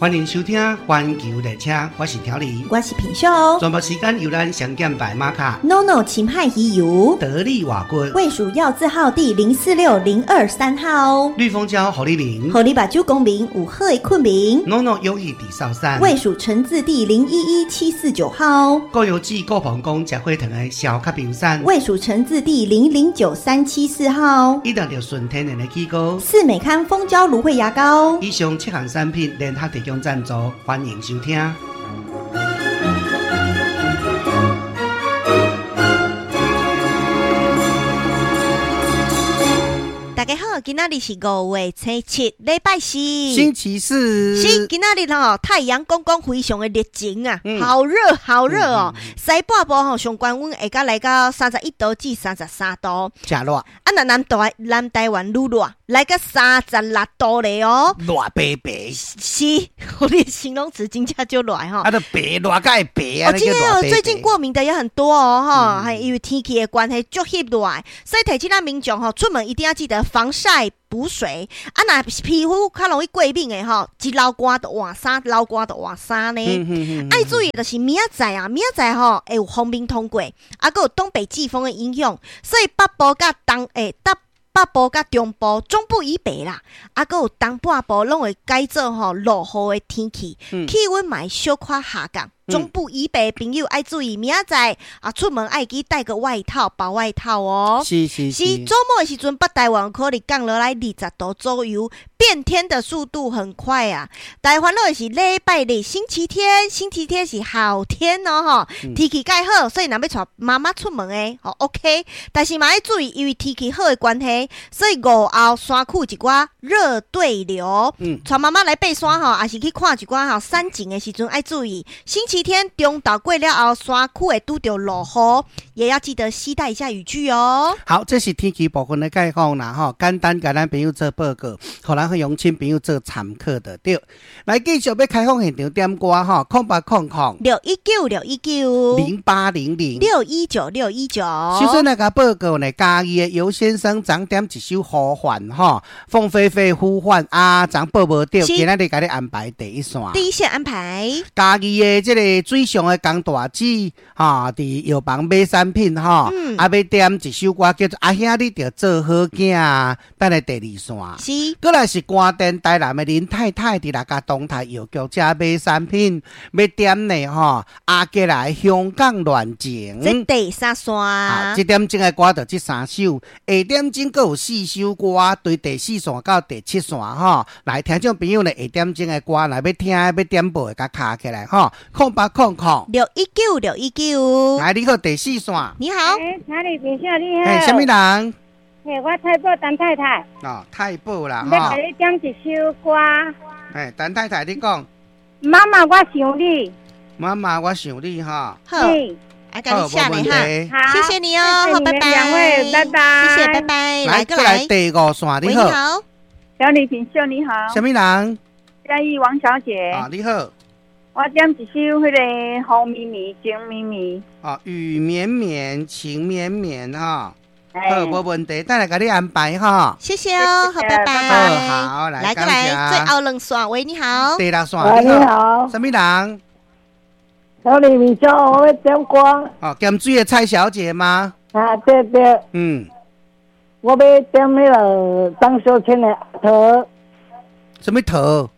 歡迎收聽《環球列車》，我是調理，我是品秀。全部時間由咱上減白馬卡，NONO 秦漢魚油，得力瓦骨，衛署藥字號第046023號，綠蜂膠予你眠，予你目睭光明有好的睏眠，NONO 勇氣地少山，衛署成字第011749號，高油脂高膀胱食火糖的消卡冰山，衛署成字第009374號，一定著純天然的起膏，四美康蜂膠蘆薈牙膏，以上七項產品聯合提供贊助，歡迎收聽。大家好，今仔日是5月初7，禮拜四，星期四。是今仔日吼，太陽公公非常的熱情啊，好熱好熱哦。西半部吼上懸溫會到來到31度至33度，誠熱。啊，若南台灣愈熱，來到36度咧哦，熱白白。是，我的形容詞真正就熱吼。啊，都白熱甲會白啊。哦，今天哦，最近過敏的也很多哦，吼，還因為天氣的關係，足翕熱，所以提醒咱民眾吼，出門一定要記得防曬補水。啊，若皮膚較容易過敏的吼，一流汗就換衫，流汗就換衫呢。愛注意就是明仔載啊，明仔載吼會有鋒面通過，啊，閣有東北季風的影響，所以北部佮東北部佮中部、中部以北啦，啊，閣有東半部攏會改做吼落雨的天氣，氣溫嘛會小可下降。中部以北的朋友愛注意，明仔載啊出門愛記帶個外套、薄外套哦。是是是。週末的時陣，北台灣可能降落來20度左右，變天的速度很快啊。大煩惱的是禮拜日星期天，星期天是好天哦吼，天氣蓋好，所以若欲帶媽媽出門的吼 OK。但是嘛愛注意，因為天氣好的關係，所以午後山區一寡熱對流，帶媽媽來爬山吼，抑是去看一寡吼山景的時陣愛注意。星期天中晝過了後，山區會拄著落雨，也要記得攜帶一下雨具哦。好，這是天氣部分的概況啦，吼，簡單共咱朋友做報告，予咱鄉親朋友做參考就對。來，繼續欲開放現場點歌吼，0800 619 619 0800 619 619。首先來共報告呢，嘉義的尤先生昨點一首呼喚吼，鳳飛飛呼喚啊，昨報無著，今仔日共你安排第一線。第一線安排。嘉義的這個水上的江大姊，吼，佇藥房買產品吼，啊，欲點一首歌叫做《阿兄你著做好囝》，等下第二線。是。閣來是關電台南的林太太，佇六甲東台藥局遮買產品，欲點呢吼，阿杰來香港戀情。這第三線。這點鐘的歌就這三首，下點鐘閣有四首歌，對第四線到第七線吼。來，聽眾朋友呢，下點鐘的歌，若欲聽欲點播的，共敲起來吼，0800 619 619。來，你好，第四線。你好。欸，聽你朋友你好。欸，啥物人？欸，我太保陳太太。哦，太保啦，欲共你點一首歌。欸，陳太太，你講。媽媽，我想你。媽媽，我想你哈。好。來，共你寫咧哈，謝謝你哦，好，拜拜。兩位，拜拜。謝謝，拜拜。來，過來第五線，你好。小李品秀，你好。啥物人？嘉義王小姐。啊，你好。我點一首彼個雨綿綿情綿綿。哦，雨綿綿情綿綿哈。好，無問題，等下共你安排哈。謝謝哦，好，拜拜。好，來，來過來，最後兩線，喂，你好。第六線，你好。啥物人？小李明秀，我欲點歌。哦，鹹水的蔡小姐嗎？啊，對對。嗯。我欲點彼個張秀清的阿桃。啥物桃？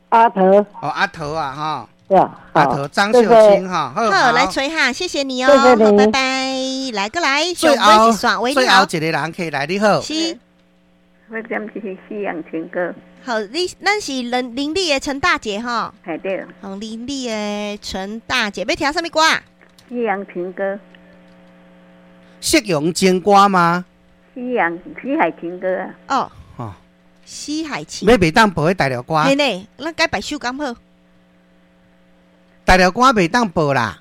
阿桃。哦，阿桃啊，哈。對啊。阿桃張秀清哈，好，來吹哈，謝謝你哦，好，拜拜。來過來，最後最後一個人可以來，你好。是。我點一首西洋情歌。好，你咱是林立的陳大姐哈。係對。好，林立的陳大姐，欲聽啥物歌？西洋情歌。夕陽情歌嗎？西洋西海情歌啊。哦。哦。西海情。欲袂當播彼大陸歌。嘿呢，咱改別首敢好。大陸歌袂當播啦。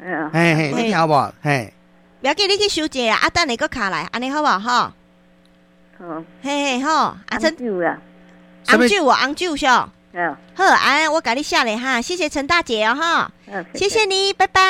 嗯。嘿嘿，你聽無？嘿。不要緊，你去收者啊，等下閣敲來，按呢好無吼？好。嘿嘿好，阿陳。紅酒啊。紅酒哦，紅酒是。嗯。好，啊，我共你寫咧哈，謝謝陳大姐哦哈。謝謝你，拜拜。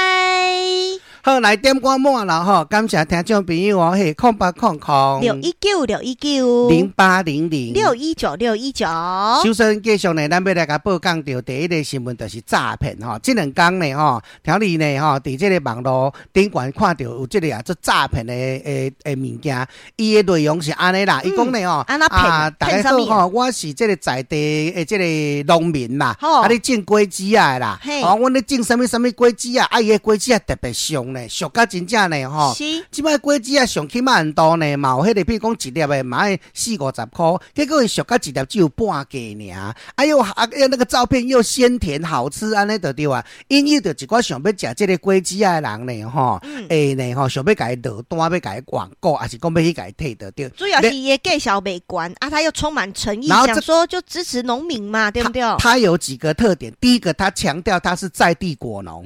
好，來點歌滿啦吼，感謝聽眾朋友哦，嘿，0800 619 619 0800 619 619。首先，繼續呢，咱欲來共報講著第一个新聞就是詐騙吼。這兩工呢吼，聽你呢吼，佇這个網路頂懸看著有這个啊，做詐騙的物件，伊的內容是按呢啦，伊講呢吼，按怎騙？逐家好吼，我是這个在地的這个農民啦，啊，咧種果子仔的啦，哦，阮咧種啥物啥物果子仔，啊，伊的果子仔特別俗呢，俗甲真正呢吼。這擺果子仔上起碼很多呢，嘛有彼个，比如講一粒的嘛愛四五十箍，結果伊俗甲一粒只有半價爾，哎喲啊，那個照片又鮮甜好吃，按呢就對啊，引誘著一寡想欲食這个果子仔的人呢，吼，會呢吼，想欲共伊落單，欲共伊網購，抑是講欲去共伊提著對。主要是伊的介紹袂懸啊，他又充滿誠意，想說就支持農民嘛，對不對？他有幾個特點，第一個，他強調他是在地果農；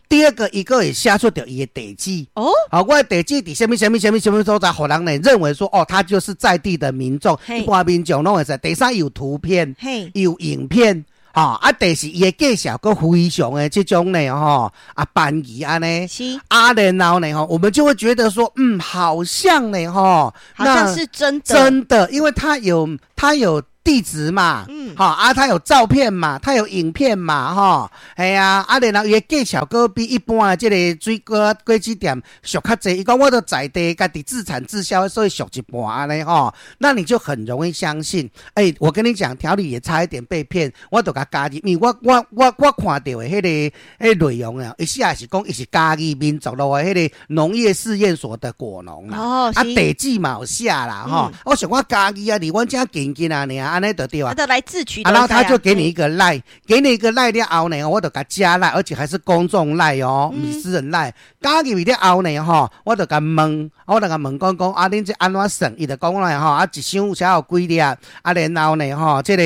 第二個，伊閣會寫出著伊的地址。好，我的地址佇啥物啥物啥物啥物所在，予人呢認為說，哦，他就是在地的民眾，一般民眾攏會知。第三，有圖片，有影片。吼，啊，第四伊的介紹閣非常的這種呢，吼，啊，便宜按呢，啊，然後呢，吼，我們就會覺得說，嗯，好像呢，吼，好像是真的，真的，因為他有地址嘛，吼啊，他有照片嘛，他有影片嘛，吼，係啊，啊，然後伊的介紹閣比一般的這个水果果子店俗較濟。伊講我都在地家己自產自銷，所以俗一半按呢吼，那你就很容易相信。欸，我跟你講，調理也差一點被騙，我就共加入，因為我看著的彼个內容啊，伊寫是講伊是嘉義民族路的彼个農業試驗所的果農啦，啊，地址嘛有寫啦，吼，我想講嘉義啊，離阮遮近近啊，爾。按呢就對啊，就來自取，啊，然後他就給你一個 LINE，給你一個 LINE 了後呢，我就共加 LINE，而且還是公眾 LINE 哦，毋是私人 LINE。加入去了後呢，吼，我就共問，我就共問講講，啊，恁這按怎算？伊就講來吼，啊，一箱才有幾粒，啊，然後呢，吼，這個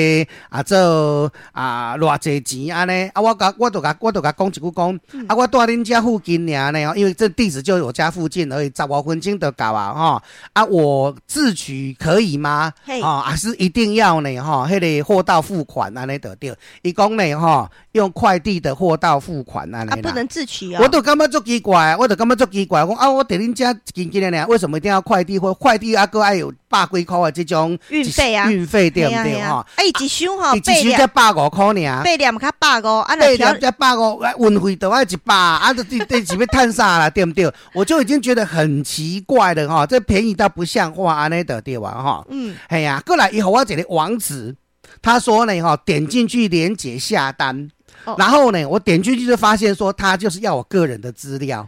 啊做啊偌濟錢按呢？啊，我就共講一句講，啊，我住恁遮附近爾呢，因為這地址就我家附近而已，15分鐘就到啊，吼，啊，我自取可以嗎？哦，還是一定要呢？吼，彼個貨到付款按呢就對。伊講呢，吼，用快遞的貨到付款按呢。啊，不能自取啊。我都感覺足奇怪，我就感覺足奇怪，講啊，我佇恁遮近近的爾，為什麼一定要快遞？或快遞啊，閣愛有百幾箍的這種運費啊？運費對毋對？吼，啊，伊一箱吼，一箱才150箍爾，八粒較百五，啊，八粒才百五，運費都愛100，啊，這是欲趁啥啦？對毋對？我就已經覺得很奇怪了，吼，這便宜到不像話，按呢就對啊，吼，係啊，過來伊予我一個網址，他說呢，吼，點進去連結下單。然後呢，我點進去就發現說，他就是要我個人的資料。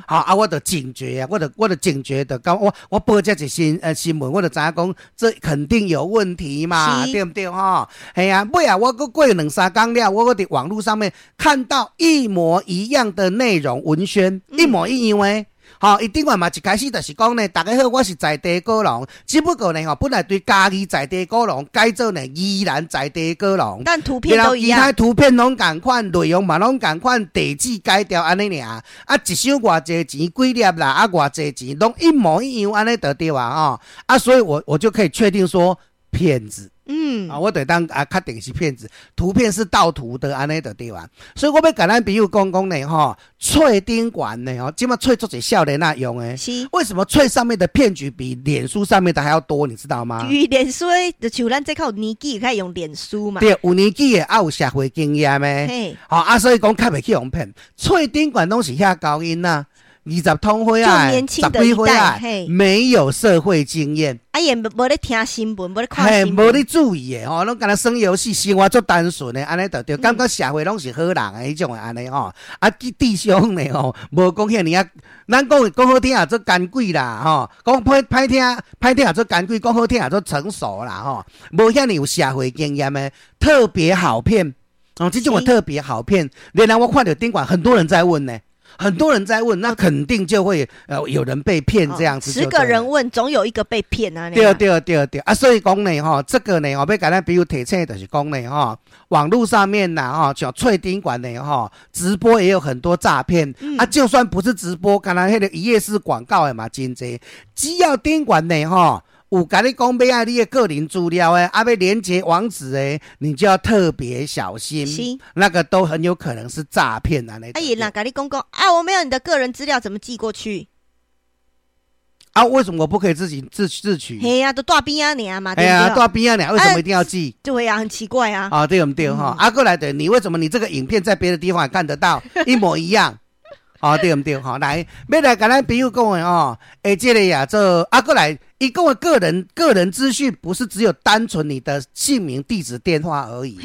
好啊，我就警覺啊，我就警覺的，講我報這一新聞，我就知影講，這肯定有問題嘛，對毋對？吼，係啊，尾啊，我閣過兩三工了，我閣佇網路上面看到一模一樣的內容文宣，一模一樣的。吼，伊頂懸嘛一開始就是講呢，逐家好，我是在地果農，只不過呢，吼，本來對嘉義在地果農改做呢宜蘭在地果農，但圖片都一樣，其他圖片攏仝款，內容嘛攏仝款，地址改掉按呢爾，啊，一箱偌濟錢幾粒啦，啊，偌濟錢攏一模一樣按呢就對啊，吼，啊，所以我就可以確定說騙子。啊，我就當啊，確定是騙子，圖片是盜圖的，按呢就對啊。所以我欲共咱朋友講講呢，吼，喙頂懸呢，吼，這馬喙足濟少年仔用的。為什麼喙上面的騙局比臉書上面的還要多？你知道嗎？因為臉書就像咱這較有年紀，較會用臉書嘛。對，有年紀的，啊有社會經驗的。吼啊，所以講較袂去予騙。喙頂懸攏是遐厚囡仔。20通歲啊，10幾歲啊，沒有社會經驗，啊也無咧聽新聞，無咧看新聞，無咧注意的吼，攏干焦耍遊戲，生活足單純的，按呢就對，感覺社會攏是好人的彼種的按呢吼，啊，智商呢吼，無講遐爾啊，咱講講好聽也做艱鬼啦吼，講歹歹聽歹聽也做艱鬼，講好聽也做成熟啦吼，無遐爾有社會經驗的，特別好騙哦，這種的特別好騙，連然我看著頂懸很多人在問呢。很多人在問，那肯定就會有人被騙這樣子。 10個人問，總有一個被騙啊。對對對對啊，所以講呢，吼，這個呢，我欲共咱朋友提醒就是講呢，吼，網路上面呐，吼，像喙頂懸的吼，直播也有很多詐騙啊。就算不是直播，剛才彼個一頁式廣告的嘛，真濟。只要頂懸的吼，有有共你講欲愛你的個人資料的，啊欲連結網址的，你就要特別小心。那個都很有可能是詐騙啊！啊，伊若共你講講啊，我沒有你的個人資料，怎麼寄過去？啊，為什麼我不可以自己自取？嘿啊，都蹛邊仔爾嘛，哎呀，對蹛邊仔爾，為什麼一定要寄？對啊，很奇怪啊。啊，對毋對哈？啊，過來的，你為什麼你這個影片在別的地方也看得到，一模一樣？啊，對毋對哈？來，欲來共咱朋友講的哦，欸，這個呀，這啊，過來，伊講的個人資訊不是只有單純你的姓名、地址、電話而已。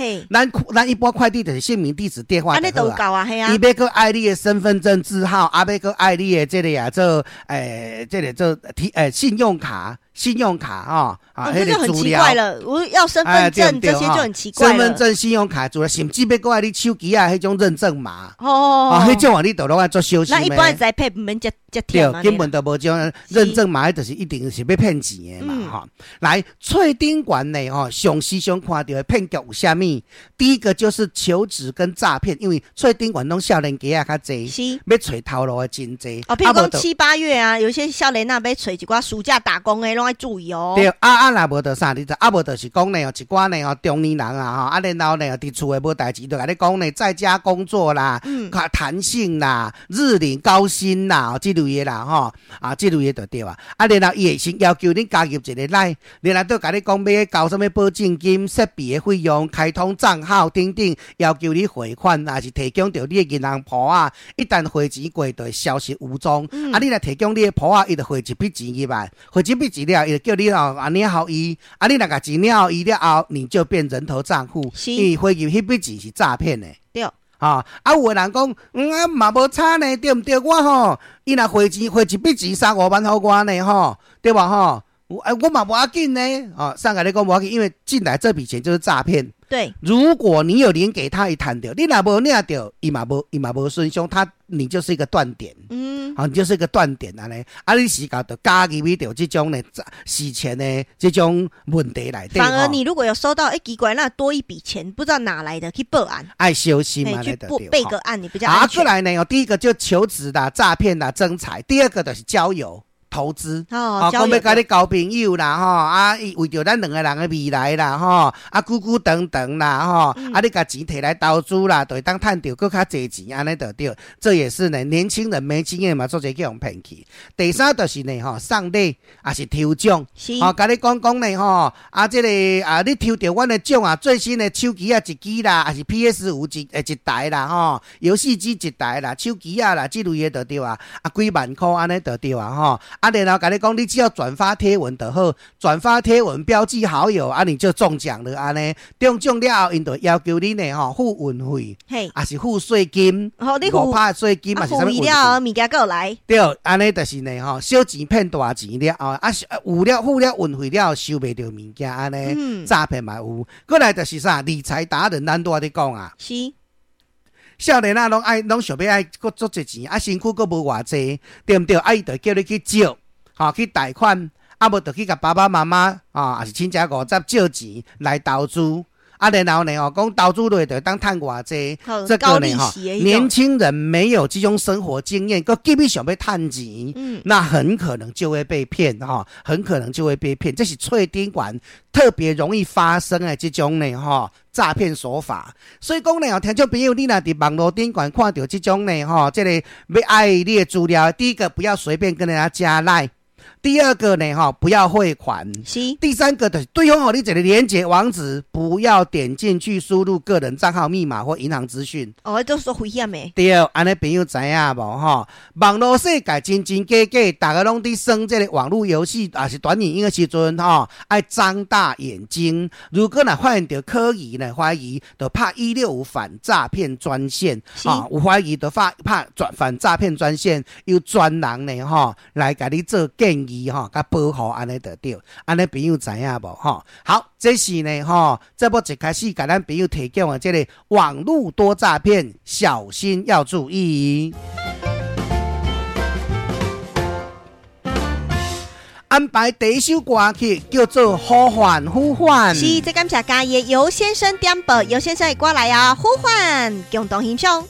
咱一般快遞就是姓名、地址、電話。按呢都夠啊，嘿啊。伊欲閣愛你的身份證字號，啊，欲閣愛你的這個呀，這欸，這個這提欸信用卡。信用卡啊，啊，這就很奇怪了。我要身份證這些就很奇怪。身份證、信用卡，除了甚至欲閣愛你手機啊，彼種認證碼。啊，彼種啊，你都攏愛做小心。那一般在配毋免遮遮對，根本就無種認證碼，就是一定是欲騙錢的嘛，哈。來，喙頂懸呢，吼，上時常看著的騙局有啥物？第一個就是求職跟詐騙，因為喙頂懸攏少年家仔較濟，欲揣頭路的真濟。哦，譬如講七八月啊，有些少年仔欲揣一寡暑假打工的，攏愛注意哦。對，啊啊，若無就啥？你就啊無就是講呢，一寡呢吼中年人啊吼，啊然後呢佇厝的無代誌，就共你講呢，在家工作啦，較彈性啦，日領高薪啦，這類的啦吼，啊這類的就對啊。啊，然後伊會先要求你加入一個 LINE，然後閣共你講欲交啥物保證金、設備的費用、開通帳號等等，要求你匯款，抑是提供著你的銀行簿仔。一旦匯錢過，就會消失無蹤。啊，你若提供你的簿仔，伊就匯一筆錢入來，匯一筆錢了，伊就叫你哦啊領予伊。啊，你若共錢領予伊了後，你就變人頭帳戶，因為匯入彼筆錢是詐騙的。啊，啊有的人講，啊嘛無差呢，對毋對？我吼，伊若匯錢匯一筆錢三五萬予我呢，吼，對無吼？哎，我嘛無要緊呢，哦，上共你講無要緊，因為進來這筆錢就是詐騙。如果你有領給他，伊趁著，你若無領著，伊嘛無損傷，他你就是一個斷點。好，你就是一個斷點按呢。啊，你時間就加入去著這種呢洗錢的這種問題內底。反而你如果有收到，哎，奇怪，那多一筆錢，不知道哪來的，去報案。愛小心嘛，去報備個案，你比較安全。啊，過來呢，第一個就求職啦、詐騙啦、徵才；第二個就是交友。投資，哦，講欲共你交朋友啦，吼，啊，伊為著咱兩个人的未來啦，吼，啊，久久長長啦，吼，啊，你共錢提來投資啦，就會當趁著閣較濟錢，按呢就對。這也是呢，年輕人沒經驗嘛，做濟去予騙去。第三就是呢，吼，送禮抑是抽獎，吼，共你講講呢，吼，啊，這個啊，你抽著阮的獎啊，最新的手機仔一支啦，抑是 PS5一台啦，吼，遊戲機一台啦，手機仔啦，這類的就對啊，啊，幾萬箍按呢就對啊，吼。啊，然後共你講，你只要轉發貼文就好，轉發貼文標記好友，啊，你就中獎了按呢。中獎了後，𪜶就要求你呢，吼，付運費，抑是付稅金，5%稅金，抑是啥物運費？物件閣來。對，按呢就是呢，吼，小錢騙大錢了後，啊，付了運費了後，收袂著物件按呢，詐騙嘛有。過來就是啥，理財達人，咱拄仔咧講啊。少年仔攏愛，攏想欲愛閣足濟錢，啊，身軀閣無偌濟，對毋對？啊，伊就叫你去借，吼，去貸款，啊，無就去共爸爸媽媽，啊，抑是親戚五十借錢來投資，啊，然後呢，吼，講投資落就會當趁偌濟，這個呢，吼，年輕人沒有這種生活經驗，閣急欲想欲趁錢，那很可能就會被騙，吼，很可能就會被騙。這是喙頂懸特別容易發生的這種呢，吼。詐騙手法，所以講呢，聽眾朋友，你若佇網路頂懸看著這種呢，吼，這個欲愛你的資料，第一個不要隨便跟人家加 LINE，第二個呢，吼，不要匯款，第三個就是對方予你一個連結網址，不要點進去輸入個人帳號密碼或銀行資訊。哦，都是危險的。對，按呢朋友知影無吼？網路世界真真假假，逐家攏佇耍這個網路遊戲，抑是短影音的時陣吼，愛張大眼睛。如果若發現著可疑呢，懷疑，就拍165反詐騙專線。啊，有懷疑就拍反詐騙專線，有專人呢吼來共你做建議吼，共保護按呢就對。按呢朋友知影無吼？好，這是呢吼，這節目一開始共咱朋友提供的這個網路多詐騙，小心要注意。安排第一首歌曲叫做《呼喚呼喚》。是，這感謝嘉義的尤先生點播，尤先生的歌來啊，呼喚共同欣賞。